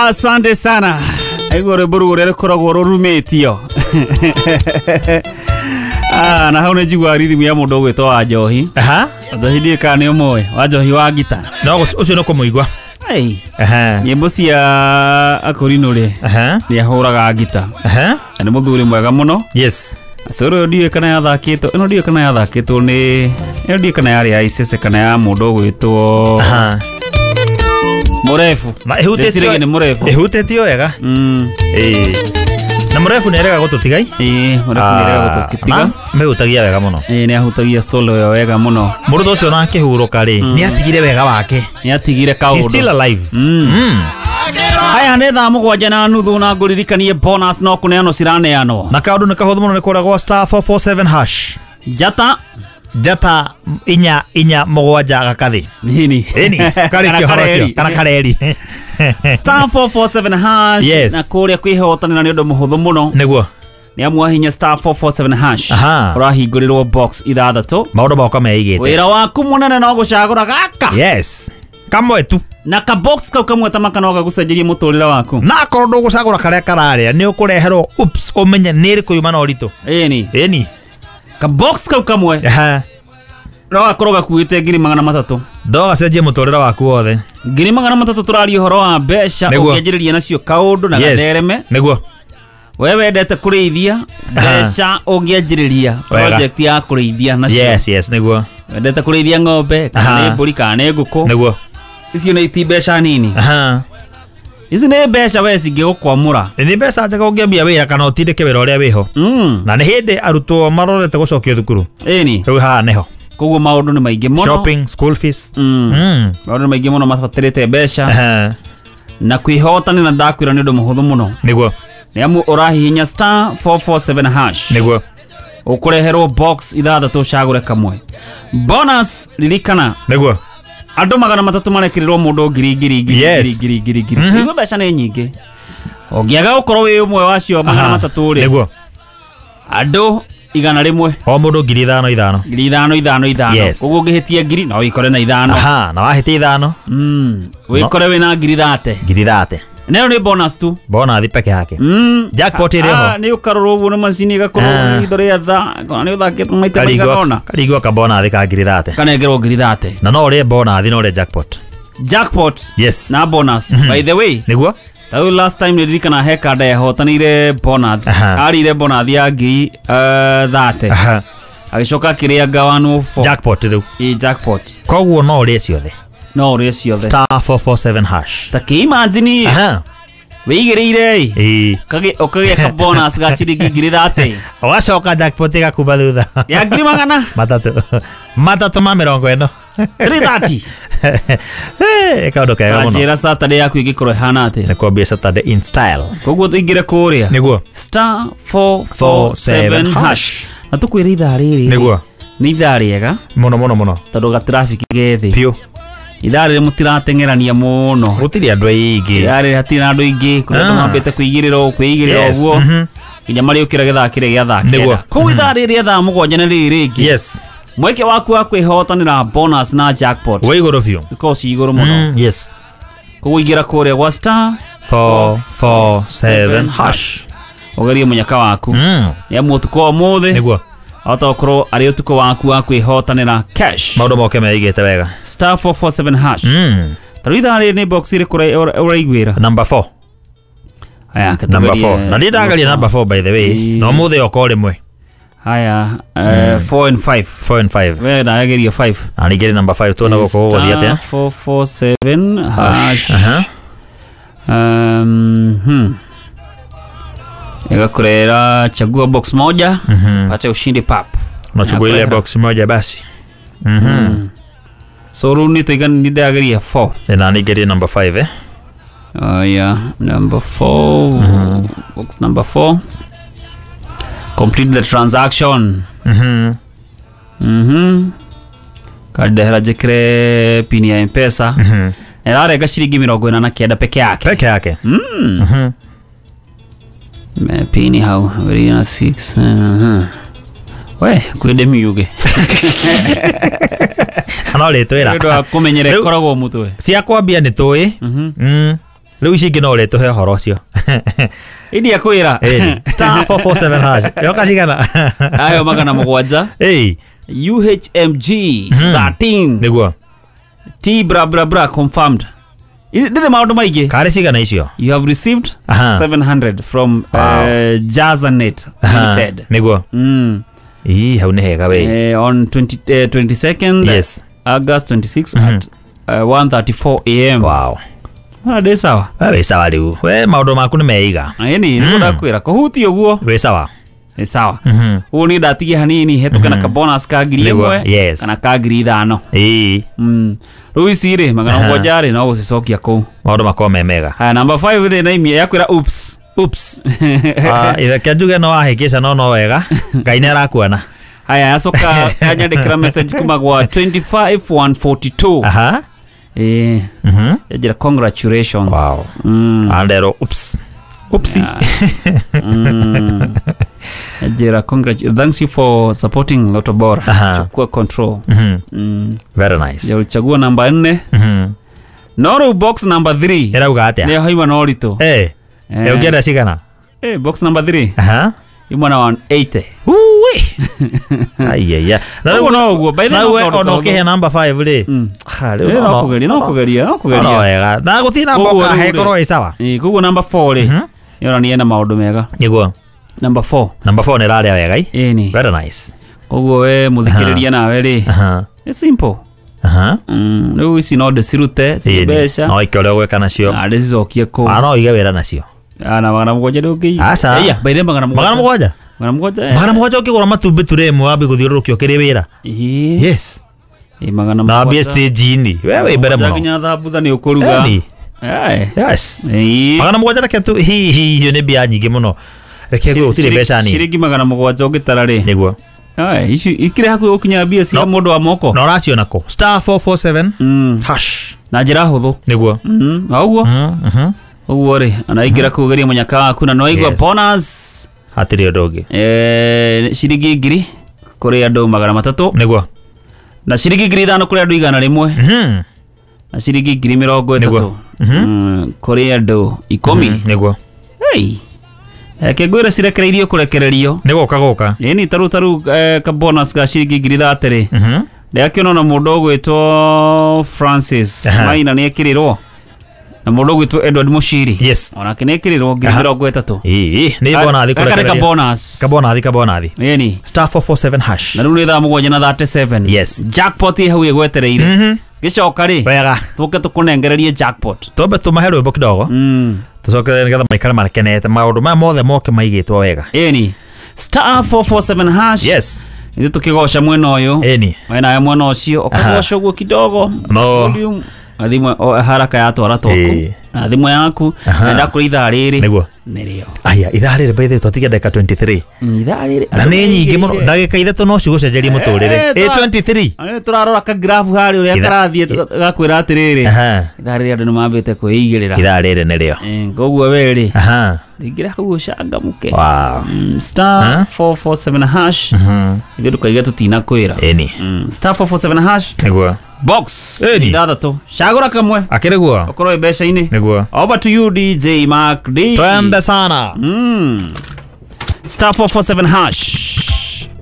Asante sana. Aigua rwĩmbo rũu ũrĩa rũkoragwo rũrumĩtio. Ah, na hau nĩ njiguaga rhythm ya mũndũ ũgwĩtwo wa Njohi. Aha. Njohi ndiũĩ kana nĩ ũmũĩ, wa Njohi wa ngita. No ũcio nĩ kũmũigua. Ei, Aha. nyĩmbo cia Akũrinũ rĩ, Aha. nĩ ahũraga ngita. Aha. Na nĩ mũthuri mwega mũno. Yes. Coro ĩyo ndiũĩ kana yathakĩtwo, ĩno ndiũĩ kana yathakĩtwo nĩ, ĩno ndiũĩ kana yarĩ ya Icece kana ya mũndũ ũgwĩtwo Aha. Mũrebu. Na ĩhutĩtio Ndĩciragia nĩ Mũrebu. Ĩhutĩtio wega. Ĩĩ. Na Mũrebu nĩ arega gũtũtigai. Ĩĩ, Mũrebu nĩ arega gũtũtiga. Mehutagia wega mũno. Ĩĩ, nĩ ahutagia solo ĩyo wega mũno. Mũrutwo ũcio na akĩhurũka rĩ, nĩ atigire wega wake. Nĩ atigire He's still kaũndũ. alive. Mm. Haya nĩ 7:30 na ngũririkanie bonus no kũneanwo ciraneanwo. Na kaũndũ nĩ kahũthũ mũno nĩ kũragwo star 447 hash. Njata Njata inya inya mũgwanja gakathĩ. nini. Ĩni, karĩkia ũhoro ũcio. Kana kareri. Star 447 hash. Yes. Na kũrĩa kwĩhotanĩra nĩ ũndũ mũhũthũ mũno. Nĩguo. Nĩ amu wahinya star 447 hash. Aha. Ũrahingũrĩrwo box ithathatũ. Maũndũ moka meigĩte. Wĩra waku mũnene no gũcagũra gaka. Yes. Kamwe tu. Na ka box kau kamwe ta maka no gagũcenjerie mũtũrĩre waku. Na akorwo ndũgũcagũra karĩa kararĩa nĩ ũkũreherwo ups ũmenye nĩ ĩrĩkũ yuma na ũritũ. Ĩni. Ĩni. Ka box kau kamwe Aha. no gakorwo gakuĩte 300,000. Ndogacenjie mũtũrĩre waku wothe. 300,000 tũraria ũhoro wa mbeca Nĩguo. ũngĩanjĩrĩria nacio kaũndũ na Yes. gathereme. Nĩguo. We wendete kũrĩithia mbeca ũngĩanjĩrĩria Wega. project ya kũrĩithia nacio. Yes, yes, nĩguo. Wendete kũrĩithia ng'ombe kana Aha. nĩ mbũri kana nĩ ngũkũ. Nĩguo. Icio nĩ ti mbeca nini. Aha. Ici nĩ mbeca we cingĩgũkwamũra. Nĩ mbeca njega ũngĩambia wĩra kana ũtindĩke wĩra ũrĩa wĩho. Na nĩ hĩndĩ arutwo marorete gũcokio thukuru. Ĩni. Rĩu haha nĩho. Koguo maũndũ nĩ maingĩ mũno. Shopping, school fees. Maũndũ nĩ maingĩ mũno mabatarĩte mbeca. Aha. Na kwĩhotanĩra ndakwĩra nĩ ũndũ mũhũthũ mũno. Nĩguo. Nĩ amu ũrahihinya star 447 hash. Nĩguo. Ũkũreherwo box ithathatũ ũcagũre kamwe. Bonus ririkana. Nĩguo. Andũ 300 marekĩrĩrwo mũndũ ngiri ngiri ngiri Yes. ngiri ngiri ngiri. Nĩguo mbeca nĩ nyingĩ. Ũngĩaga gũkorwo wĩ ũmwe wacio 300 rĩ. Nĩguo. Andũ 100. O mũndũ 5,000 5,000. 5,000 5,000 5,000. Yes. Koguo ũngĩhĩtia ngiri no wĩkore na 5. Aha, na wahĩtia 5. Wĩkore wĩna 30,000. 30,000. Nayo nĩ bonus tu. Bonathi peke yake. Jackpot ĩrĩ ho. Nĩ ũkarorwo ũguo na macini ĩgakorwo itho rĩa tha. Kana nĩ ũthakĩtwo maita maigana ũna. Karigua ka bonathi ka 30,000. Kanengerwo 30,000. Na no ũrĩe bonathi no ũrĩe jackpot. Jackpot. Yes. Na bonus. By the way. Nĩguo. Tau last time nĩndirikana he kanda yahotanĩire bonus. Aha. Arĩire bonus ya 30,000. Aha. Agĩcoka akĩrĩa 104. Jackpot rĩu. Ĩ jackpot. Koguo no ũrĩe ciothe. No ũrĩe ciothe. Star 447 hash. Ta kĩ imagine. Aha. Wĩigĩrĩire Ĩĩ. Ũkagĩa ka bonus ga ciringi 30,000. Ũgacoka jackpot ĩgakuma thutha. Ya 400,000. Matatũ. Matatũ ma 40. 330. Kaũndũ kega mũno. Njĩra Saturday yaku ĩngĩkorwo ĩhana atĩa. Nĩ kwambia Saturday in style. Koguo tũingĩre kũrĩa. Nĩguo. Star 447 hash. Na tũkwĩre ithaa rĩrĩ. Nĩguo. Nĩ ithaa rĩega. Mũno mũno mũno. Tondũ gatraffic ge thĩ. Piũ. Ithaa rĩrĩ mũtirateng'erania mũno. Gũtirĩ andũ aingĩ. Ithaa rĩrĩ hatirĩ na andũ aingĩ. Kũrĩ andũ mambĩte kũigĩrĩra kwĩigĩrĩra Yes. ũguo. Nginya marĩũkĩra gĩthaa kĩrĩa gĩa thaa Nĩguo. kenda. Koguo ithaa rĩrĩ rĩa thaa 7 nĩ rĩrĩ rĩngĩ. Yes. Mweke waku wa kwĩhotanĩra bonus na jackpot. Wĩ igũrũ biũ. Ikorwo ci igũrũ mũno. Yes. Koguo ingĩra kũrĩa gwa star 447 hash. Ũgerie mũnyaka waku. Nĩ amu ũtukũ wa ũmũthĩ. Nĩguo. Ahota gũkorwo arĩ ũtukũ waku wa kwĩhotanĩra cash. Maũndũ moke meigĩte wega. Star 447 hash. Ta rĩu ithaa rĩrĩ nĩ box ĩrĩkũ ũraiguĩra? Number 4. Haya, Number 4. Na ndiĩ ndagaria number 4 by the way. Na ũmũthĩ oka o rĩmwe. Haya, 4 and 5. 4 and 5. We ndageria 5. Na ningĩ number 5 tuone gũkũ gũgũthiĩ atĩa. Star 447 hash. Aha. Ĩgakũrehera chagua box moja. Pate ushindi pap. Unachagua ile box moja basi. So rĩu nĩ tũigana nĩ ndageria 4. Na ningĩ number 5 eh. Yeah, number 4. Box number 4. Complete the transaction. Kandehera njĩkĩre pin ya M-Pesa. Ĩrarenga ciringi 49 peke yake. Peke yake. Pini hau 6. We kwende miuge. No rĩtwĩra. Nĩ ũndũ wa kũmenyera Rĩu- ĩkoragwo mũtwe. Cia kwambia nĩ tũĩ. Rĩu ici ingĩ no ũrĩtũhe ũhoro ũcio. Idia kwĩra. Ĩni. Star 447 hash. Yoka cigana? Ayo 700. Ĩĩ. UHMG 13. Nĩguo. T bra bra bra confirmed. Ndĩrĩ maũndũ maingĩ. Karĩ cigana icio? You have received 700 from Jazanet Limited. Nĩguo. Ii, hau nĩ hega we. On 22nd Yes. August 26 at 1:34 am. Wow. Ah, ndĩ sawa. We wĩ sawa rĩu. We maũndũ maku nĩ meiga. Ĩni, nĩguo ndakwĩra kũhutia ũguo. Wĩ sawa. Nĩ sawa. Ũguo niĩ ndatigia hanini hetũke na ka bonus ka ngiri Nĩguo, ĩmwe yes. kana ka 5,000. Ĩĩ. Rĩu ici rĩ 700 rĩ no gũcicokia kũu. Maũndũ makorwo me mega. Haya namba 5 rĩ na imia yakwĩra oops. Oops. Ah, reke njuge no wahĩngĩca no no wega. Ngai nĩ arakuona. Haya yacoka yanyandĩkĩra message kuma gwa 25142. Aha. Eh, yanjĩra congratulations. Wow. Anderwo oops. Oopsie. Yanjĩra thanks you for supporting Lotto Bora. Chukua control. Very nice. Ya uchagua namba 4. No rĩu box number 3. Ĩrauga atĩa? Nĩyo haima na ũritũ. Eh. Eh. Ũngĩenda cigana? Eh, box number 3. Aha. Imwe na 180. Uwe. Aiya. Na Ũguo no ũguo. By the way, na we no kaũndũ ona kahũthũ. ũkĩhe namba 5 rĩ. Ha, rĩu Eh, no kũgeria, no kũgeria, no no kũgeria. wega. Na gũtirĩ namba Koguo ũkahe rĩu rĩ. ĩkorwo ĩ sawa. Eh, koguo number 4 rĩ. Yonania ena maũndũ mega. Nĩguo. Number 4. Namba 4 nĩ ĩrarĩa wega i. Ĩni. Very nice. Koguo we mũthikĩrĩria nawe rĩ. Aha. It's simple. Aha. Rĩu ici no ndĩcirute ci Ĩni. mbeca. No ike ũrĩa ũgwĩka nacio. Na ndĩcicokie kũu. Ah, no ũige wĩra nacio. Ah, na 700 ndũngĩiga. Aca. Ĩya, by the way, 700. 700? 700. Eh. 700 ũkĩgũra matumbĩ ture ĩmwe wambie gũthiũrũrũkio ũkĩrĩ wĩra. Ĩĩ. Yes. Ĩ, magana Na wambie mũgwanja. stage-inĩ. We wĩ mbere mũno. Nginya thambutha nĩ ũkũruga. Ĩni. Eh. Yes. Ĩĩ. 700 reke tu hi hi icio nĩ mbia nyingĩ mũno. Reke nguo gũtirĩ mbeca nini. Ciringi 700 ũngĩtara rĩ. Nĩguo. Ai, ici ikĩrĩ hakuhĩ gũkinya mbia cia mũndũ wa moko. Na ũraciona kũ? Star 447 hash. Na njĩra hũthũ. Nĩguo. Na ũguo ũguo rĩ ona ingĩra kũu geria mũnyaka waku na nĩwaigua Yes. bonus Hatirĩ ũndũ ũngĩ. Ciringi 1,000 kũrĩ andũ 300 Nĩguo. na ciringi 5,000 kũrĩ andũ 100 na ciringi 30,000 Nĩguo. Kũrĩ andũ 10. Nĩguo. Hey. Reke ngwĩre cirekereirio kũrekererio. Nĩ gũka gũka. Ĩni taru ka bonus ga ciringi 30,000 rĩ. Ndĩrakĩona ona mũndũ ũgwĩtwo Francis Maina nĩ ekĩrĩrwo na mũndũ ũgwĩtwo Edward Mushiri. Yes. Onake nĩ ekĩrĩrwo 30,000. Ĩĩ, nĩ bonathi Gaka nĩ ka kũrekereria. bonus. Kabonathi kabonathi. Ĩni. Star 447 hash. Na rĩu nĩ thaa 7 na 37. Yes. Jackpot ĩ hau ĩgwetereire. Gĩcoka rĩ Wega. tũke tũkũnengererie jackpot. Twambe tũmahe rwĩmbo kidogo. Tũcoke nĩgetha maikare makenete maũndũ maya mothe moke maigĩtwo wega. Ĩni. Star 447 hash. Yes. Ithuĩ tũkĩgoca mwena ũyũ. Ĩni. We nawe mwena ũcio ũkagoca ũguo kidogo. No. Volume. Na thimũ haraka yatwara twaku. Ĩĩ. Na thimũ yaku. Na ndakũrĩ ithaa rĩrĩ. Nĩguo. Nĩrĩo. Aya, ithaa rĩrĩ by the way twatigia ndagĩka 23. Ithaa rĩrĩ. Na nĩ nyingĩ mũno. Ndagĩka ithatũ no cigũcenjerie mũtũrĩre. Eh, Ĩ 23. Nĩ tũrarora ka graph harĩa ũrĩa karathiĩ gakwĩra atĩrĩrĩ. Aha. Ithaa rĩrĩ andũ nĩ mambĩte kwĩigĩrĩra. Ithaa rĩrĩ nĩrĩo. Koguo we rĩ. Aha. Ingĩra hau ũcangamũke. Wow. Star 447 hash. Ithuĩ ndũkaiga tũtinakwĩra. Ĩni. Star 447 hash. Nĩguo. Box Ĩni. ithathatũ. Cagũra kamwe. Akĩrĩ guo. Ũkorwo wĩ mbeca-inĩ. Nĩguo. Over to you DJ Mark D. Twende sana. Star 447 hash.